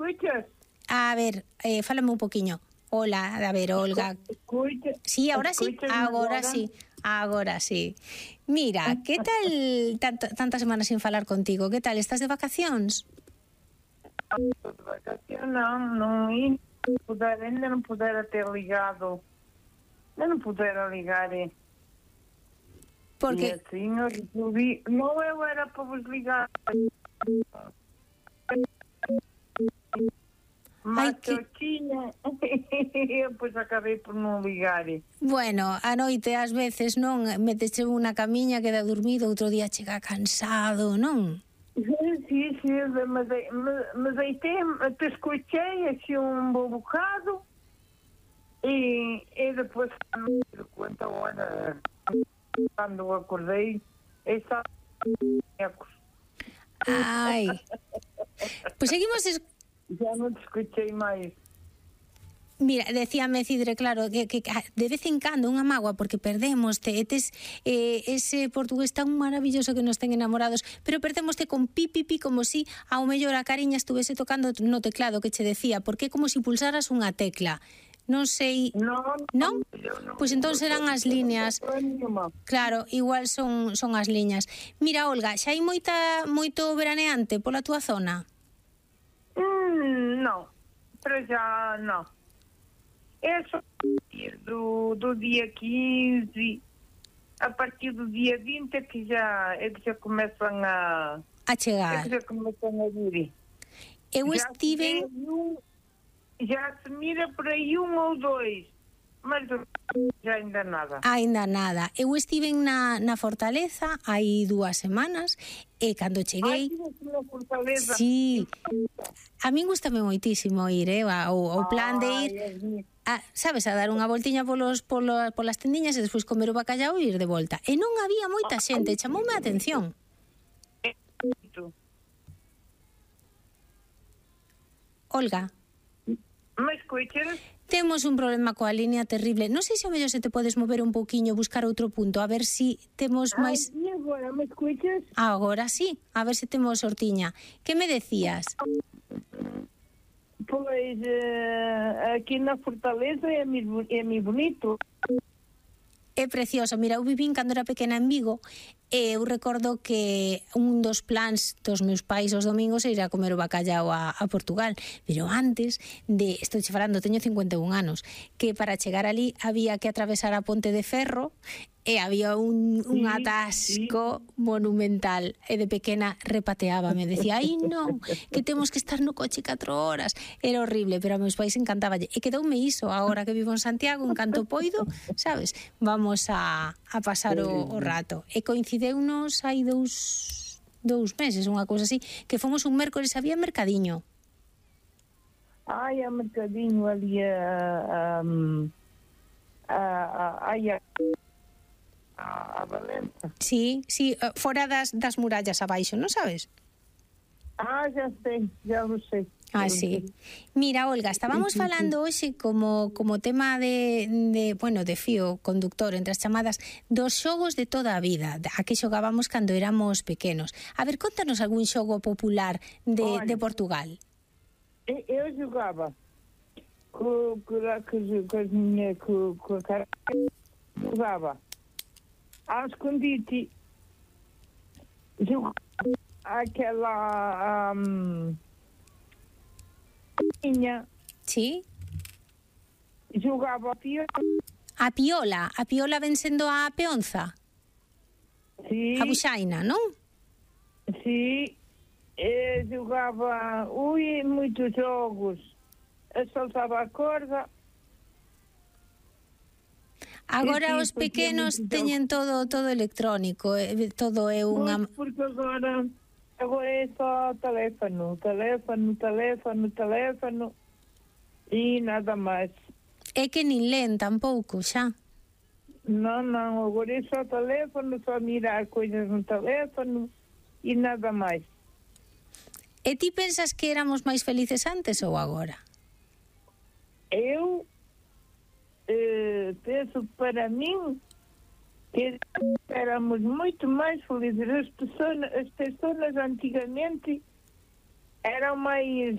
escuchas? A ver, fálame un poquinho. Hola, a ver, Olga. Escucha. Sí, ahora sí, Agora agora sí. Mira, que tal tantas semanas sin falar contigo? Que tal, estás de vacacións? Non, ainda non pudera ter ligado. Non pudera ligar, Porque... E assim, eu resolvi... Non, eu era para vos ligar. Mas que eu tiña... Eu, pois, acabei por non ligar. Bueno, a noite, ás veces, non? Meteche unha camiña, queda dormido, outro día chega cansado, non? Sí, me deitei, te escuchei así un bo bocado e depois me conta agora cando acordei esa Ai. Pois seguimos já non te escuchei máis. Mira, decíame Cidre, claro, que de vez en cando unha mágoa porque perdémoste, ese portugués tan maravilloso que nos ten enamorados, pero perdémoste con pi, como si ao mellor a cariña estuvese tocando no teclado que che decía, porque é como si pulsaras unha tecla. Non sei... Non? Pois entón serán as líneas. Claro, igual son as liñas. Mira, Olga, xa hai moito veraneante pola túa zona? Non, pero xa non. Eso do día 15, a partir do día 20 é que já começam a chegar. É que já começam a vir. Eu estive... Já se mira por aí un ou dois, mas já ainda nada. Ainda nada. Eu estive na Fortaleza hai 2 semanas e cando cheguei... na Fortaleza? Sí. A min gustame moitísimo ir, o plan de ir... sabes, a dar unha voltiña polas tendiñas e despois comer o bacallau e ir de volta. E non había moita xente, chamoume a atención. Olga. Me escuchas? Temos un problema coa línea terrible. Non sei se ao mellor se te podes mover un poquinho, buscar outro punto, a ver si temos máis... E agora, me escuchas? Agora sí, a ver se temos sortiña. Que me decías? Pois, aquí na Fortaleza é moi bonito. É precioso. Mira, eu vivín cando era pequena en Vigo e eu recordo que un dos plans dos meus pais os domingos era ir a comer o bacallau a Portugal, pero antes de, estou che falando, teño 51 anos, que para chegar ali había que atravesar a ponte de ferro e había un atasco monumental, e de pequena repateábame, decía, ai non, que temos que estar no coche 4 horas, era horrible, pero a meus pais encantáballe, e quedoume iso, agora que vivo en Santiago, en canto poido, sabes, vamos a pasar o rato, e coincideunos hai dous meses, unha cousa así, que fomos un mércores, había mercadiño. Ai, a mercadiño ali a Valença. Sí, fora das murallas abaixo, non sabes? Já sei, já lo sei. Sí. Mira, Olga, estábamos falando hoxe como tema de fío conductor entre as chamadas dos xogos de toda a vida, a que xogábamos cando éramos pequenos. A ver, contanos algún xogo popular de Portugal. Eu xogaba jogava ao escondite, aquela sí? Jogava a piola. A piola ven sendo a peonza? Sí. A buxaina, non? Sí. Jogava moitos jogos. Saltava a corda. Agora os pequenos teñen todo electrónico, todo é unha... Porque agora é só teléfono e nada máis. É que nin len tampouco, xa. Non, agora é só teléfono, só mirar coisas no teléfono e nada máis. E ti pensas que éramos máis felices antes ou agora? Eu penso para min que éramos moito máis felizes. As pessoas antigamente eram mais